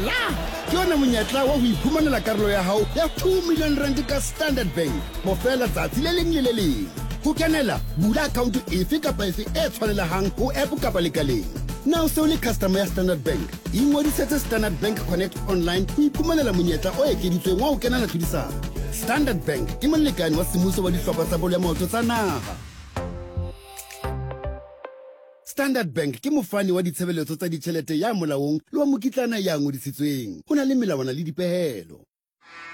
Mohlala ke ona monyetla wa ho iphumanela karolo ya hao ya 2 million rand ka Standard Bank bofela tsatsi le leng le le leng. Ho kenela, bula akhaonto efe kapa efe e tshwanelehang ho app kapa lekaleng. Na o se o le customer ya Standard Bank? Ingodisetse Standard Bank Connect Online ho iphumanela monyetla o ekeditsweng wa ho kenela tlhodisano. Standard Bank ke molekane wa semmuso wa dihlopha tsa bolo ya maoto tsa naha. Standard Bank ke mofani wa ditshebeletso tsa ditjhelete ya molaong le wa mokitlana ya ngodisitsweng. Ho na le melawana le dipehelo.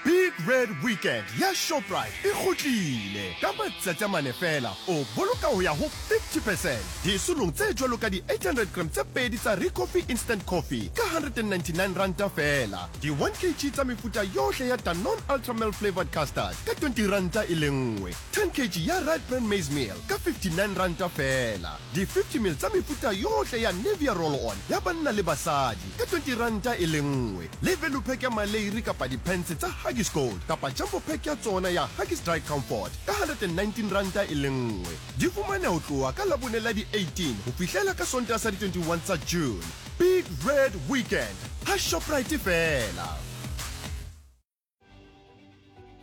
Big Red Weekend ya Shoprite e kgutlile! Ka matsatsi a mane feela, o boloka ho ya ho 50 percent disolong tse jwalo ka di-800 gram tse pedi tsa Ricoffy Instant Coffee ka R199 feela, di-1 kg tsa mefuta yohle ya Danone Ultra Milk Flavoured Custard ka R20 e le nngwe, 10 kg ya Rite Bran Maize Meal ka R59 feela, di-50 ml tsa mefuta yohle ya Nivea Roll-On ya banna le basadi ka R20 e le nngwe. Le value pack ya maleiri kapa diphense tsa Huggies Gold kapa jumbo pack ya tsona ya Huggies Dry Comfort ka R119 e le nngwe. Di fumaneha ho tloha ka Labone la di 18 ho fihlela ka Sontaha sa di 21 tsa June. Big Red Weekend ha Shoprite feela.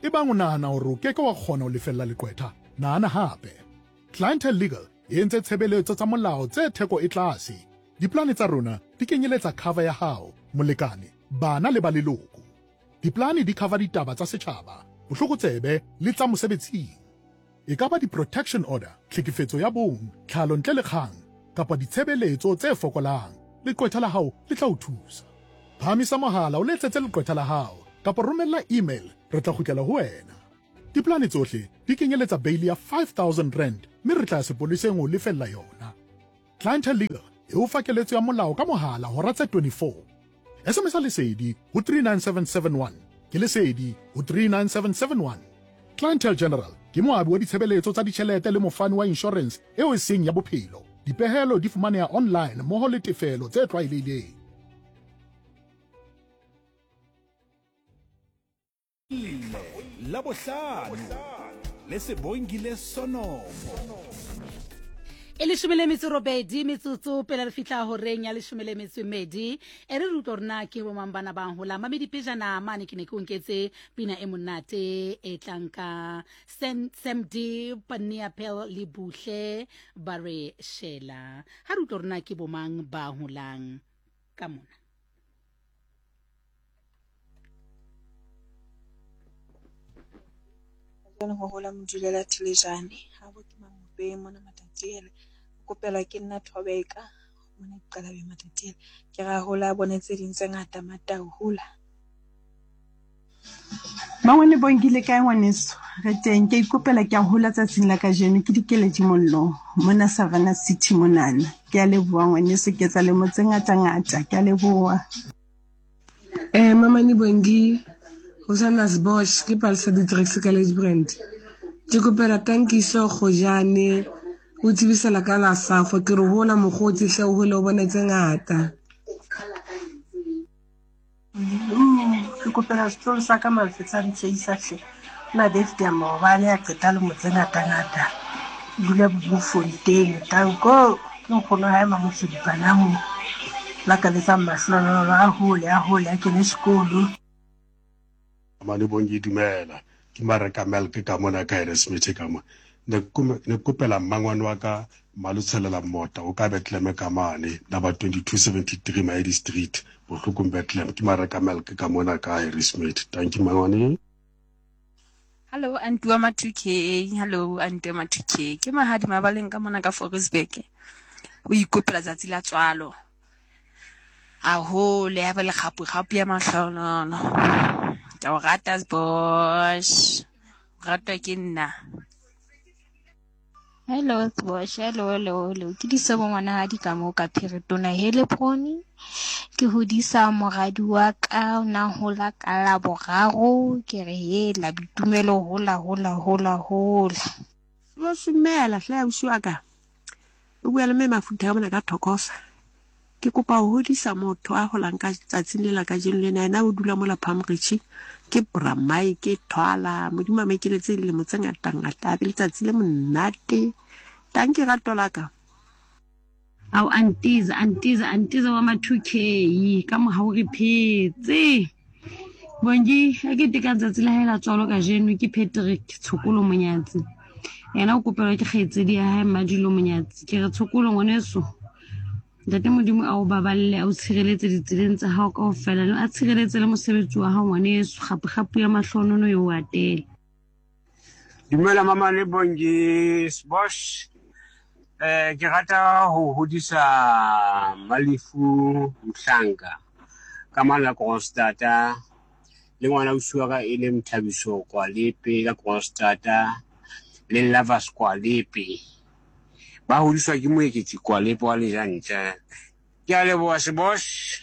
Ebang o nahana hore o ke ke wa kgona ho lefella leqwetha, nahana hape. Clientele Legal e entse tshebeletso tsa molao tse theko e tlase. Dipolane tsa rona di kenyeletsa cover ya hao, molekane, bana le ba leloko. Dipolane di cover ditaba tsa setjhaba, bohlokotsebe le tsa mosebetsing. E ka ba di-protection order, tlhekefetso ya bong, tlhalo ntle le kgang, kapa ditshebeletso tse fokolang, leqwetha la hao le tla o thusa. Phahamisa mohala o letsetse leqwetha la hao kapa romella email re tla kgutlela ho wena. Dipolane tsohle di kenyeletsa beili ya R5000 mme re tla ya sepoleseng ho o lefella yona. Clientele Legal e o fa keletso ya molao ka mohala hora tse 24. SMS-a Lesedi ho 39771. Ke Lesedi ho 39771. Clientele General ke moabi wa ditshebeletso tsa ditjhelete le mofani wa inshorense eo e seng ya bophelo. Dipehelo di fumaneha online mmoho le tefelo tse tlwaelehileng. Labohlano le Sebongile Sonomo. E leshome le metso robedi metsotso pele re fihla horeng ya leshome le metso e medi e re re utlwa gore na ke bomang bana bang hola mamedi pejana mane ke ne ke o nketse pina e monate e tlang ka Sam, Sam D Paniapel le Buhle ba re shela ha re utlwa gore na ke bomang ba holang ka mona. Jwale ho hola modulela Thelejane habo ke Mangopeng mona Matatiele. O kopelwa ke nna Thobeka mona Diqalabeng Matatiele. Ke ra hola a bone tse ding tse ngata Matau hola. Mangwane Bongi le kae ngwaneso? Re teng ke ikopela ke a hola tsatsing la kajeno ke Dikeledi Mollo mona Savannah City monana. Ke a leboha ngwaneso ke etsa lemo tse ngata ngata ke a leboha. Eh, Mamane Bongi, Hosanna Sbosh, ke Palesa Didricks ka Ladybrand. Ke kopela tankiso Gojane, o tsebisela ka la safo, ke re hola mokgotsi hle o hole o bone tse ngata. Ke kopela setloholo sa ka Malfetsa Ntseisa hle. Na birthday ya maobane a qeta lemo tse ngata ngata. Dula Bloemfontein. Tanko ke nkgono hae Mamosodi bana mo. Lakaletsang mahlohonolo a hole a hole a kene sekolo. Mane Bongi dumela ke Mareka Melk ka mona ka Harrismith ka mo ne ke kopela mmangwane wa ka Malotshelela Mmota o ka Bethlehem ka mane number 2273 Maedi Street Bohlokong Bethlehem ke Mareka Melk ka mona ka Harrismith thank you mmangwane. Hello aunty wa ma 2K hello aunty wa ma 2K ke mahadi mabaleng ka mona ka Forestburg o ikopela tsatsi la tswalo A hole ya ba le kgapu-kgapu ya mahlonono. Ke o rata Sbosh. O ratwa ke nna. Hello Sbosh, hello hello hello. Ke Disebo ngwanahadi ka moo ka Phiritona Helebroni. Ke hodisa moradi wa ka o na hola ka Laboraro. Ke re hela boitumelo hola hola hola hola. Sbosh dumela hle ausi wa ka. O bua le mme Mafutha ka mona ka Thokoza. Ke kopa ho hodisa motho a holang ka tsatsing le la kajeno lena. Yena o dula mola Palm Ridge. Ke bra Mike Thwala. Modimo a mo ekeletse dilemo tse ngata ngata. A be letsatsi le monate. Tanki rato la ka. Ao antiza antiza antiza wa ma 2K ka mohau re phetse. Bongi a ke teka tsatsi la hae la tswalo kajeno ke Patrick Tshokolo Monyatsi. Yena o kopelwa ke kgaitsedi ya hae Mmadilo Monyatsi. Ke re Tshokolo ngwaneso Ntate Modimo a o baballe a o tshireletse ditseleng tsa hao kaofela le a tshireletse le mosebetsi wa hao ngwaneso kgapu-kgapu ya mahlonono e o atele. Dumela mama le Bongi Sbosh. Eh ke rata ho hodisa Malifu Mhlanka ka mana Kroonstata le ngwana ausi wa ka e leng Thabiso Kwalepe ka Kroonstata le Lovers Kwalepe. Ba hodiswa ke Moeketsi Kwalepe wa Lejantja. Ke a leboha Sebosh.